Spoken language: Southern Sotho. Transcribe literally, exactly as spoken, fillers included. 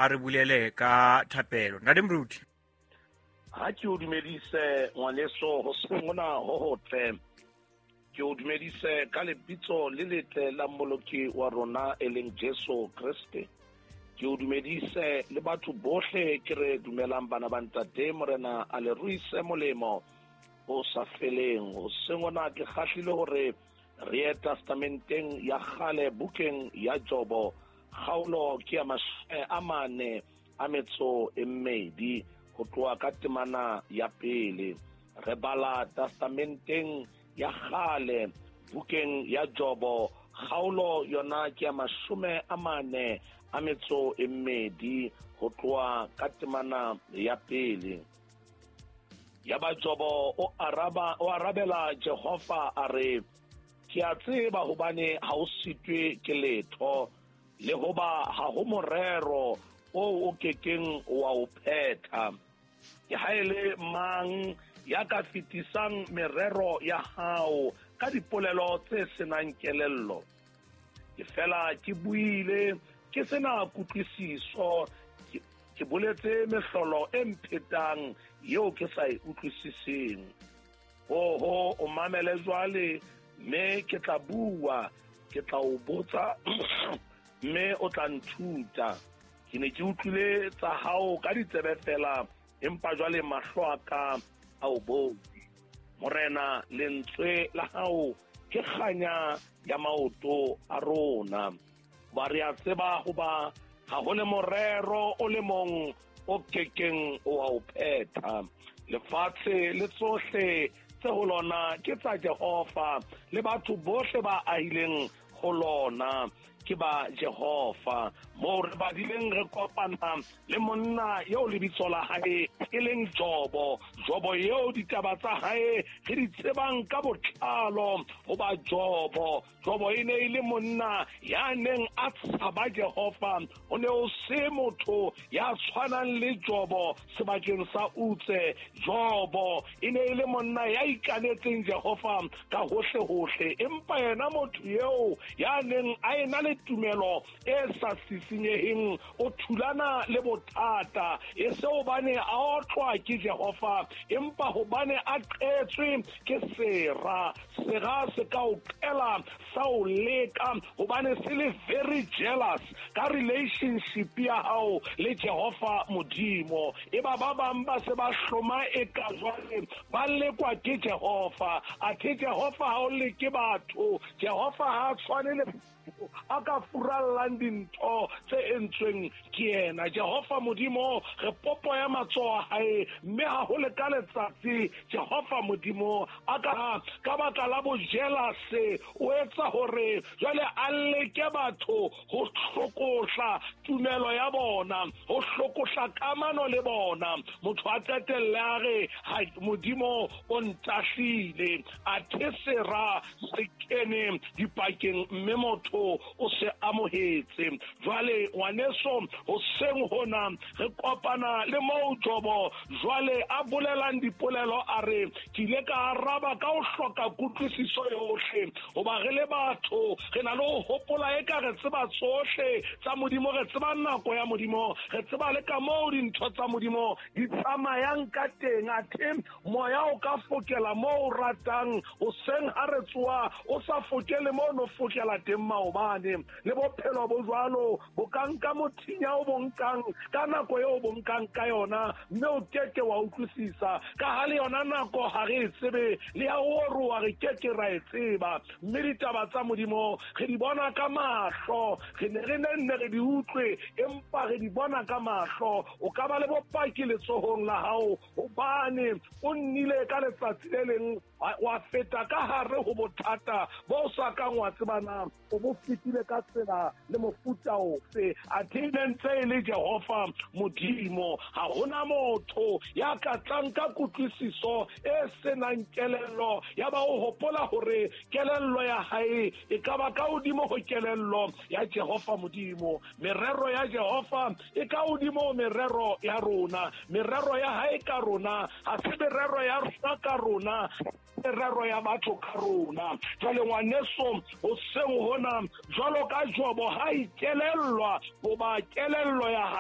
A re bulele ka thapelo. Ntate Moruti. Ha ke o dumedise ngwaneso hoseng hona ho hotle. Ke o dumedise ka lebitso le letle la Mmoloki wa rona e leng Jesu Kreste. Ke o dumedise le batho bohle ke re dumelang bana ba ntate Morena a le ruise molemo o sa feleng. Hoseng hona ke kgahlile hore re ye testamenteng ya kgale bukeng ya Jobo, kgaolo ke ya mashome a mane a metso e mmedi ho tloha ka temana ya pele. Re bala testamenteng ya kgale bukeng ya Jobo, kgaolo yona ke ya mashome a mane a metso e mmedi ho tloha ka temana ya pele. Yaba Jobo o araba o arabela Jehova a re, ke a tseba hobane ha o sitwe ke letho, le hoba ha ho morero o o kekeng wa o phetha. Ke ha e le mang ya ka fetisang merero ya hao ka dipolelo tse senang kelello? Ke fela ke buile ke sena kutlwisiso, ke boletse mehlolo e mphetang eo ke sa e utlwisiseng. Oho, o mamele jwale, mme ke tla bua, ke tla o botsa, mme o tla nthuta. Ke ne ke utlwile tsa hao ka ditsebe fela, empa jwale mahlo a ka a o bone. Morena, lentswe la hao ke kganya ya maoto a rona. Ba re a tseba hoba ha ho le morero o le mong o kekeng wa o phetha. Lefatshe le tsohle tse ho lona ke tsa Jehova, le batho bohle ba ahileng ho lona ke ba Jehova. Moo re badileng re kopana le monna eo lebitso la hae e leng Jobo. Jobo eo ditaba tsa hae re di tsebang ka botlalo hoba Jobo. Jobo e ne e le monna ya neng a tshaba Jehova. O ne o se motho ya tshwanang le Jobo sebakeng sa Utse. Jobo e ne e le monna ya ikanetseng Jehova ka hohle hohle, empa yena motho eo ya neng a ena le tumelo e sa sisinyeheng o thulana le bothata, e se hobane a otlwa ke Jehova, empa hobane a qetswe ke sera. Sera se ka o qela sa o leka hobane se le very jealous ka relationship ya hao le Jehova Modimo. Eba ba bang ba se ba hloma e ka jwale ba lekwa ke Jehova. Athe Jehova ha o leke batho, Jehova ha tshwane le a ka furallang dintho tse entsweng ke yena. Jehova Modimo re popo ya matsoho a hae, mme ha ho le ka letsatsi Jehova Modimo a ka ka baka la bojelase o etsa hore jwale a leke batho ho hlokohla tumelo ya bona, ho hlokohla kamano le bona. Motho a qetelle a re Modimo o ntahlile, athe sera se kene dipakeng mme motho o se amohetse. Jwale ngwaneso, hoseng hona re kopana le moo Jobo jwale a bolelang dipolelo a re, ke ile ka araba ka ho hloka kutlwisiso yohle. Hoba re le batho re na le ho hopola eka re tseba tsohle tsa Modimo, re tseba nako ya Modimo, re tseba le ka moo dintho tsa Modimo di tsamayang ka teng. Athe moya o ka fokela moo o ratang, hoseng ha re tsoha o sa fokele moo no fokela teng maobane. Le bophelo bo jwalo bo ka nka mothinya o bo nkang ka nako eo o bo nkang ka yona, mme o keke wa utlwisisa ka ha le yona nako ha re e tsebe, le ya ho roa re keke ra e tseba. Mme ditaba tsa Modimo re di bona ka mahlo, re ne re nenne re di utlwe, empa re di bona ka mahlo. O ka ba le bopaki letsohong la hao hobane o nnile ka letsatsi le leng wa feta ka hare ho bothata bo sa kang wa tsebana o bo fetile ka tsela le mofuta ofe. Athe ne ntse e le Jehova Modimo, ha hona motho ya ka tlang ka kutlwisiso e senang kelello, ya ba o hopola hore kelello ya hae e ka ba ka hodimo ho kelello ya Jehova Modimo. Merero ya Jehova e ka hodimo ho merero ya rona, merero ya hae ka rona ha se merero ya rona ka rona, merero ya batho ka rona. Jwale ngwaneso, hoseng hona jwalo ka Jobo ha ikelellwa hoba kelello ya hae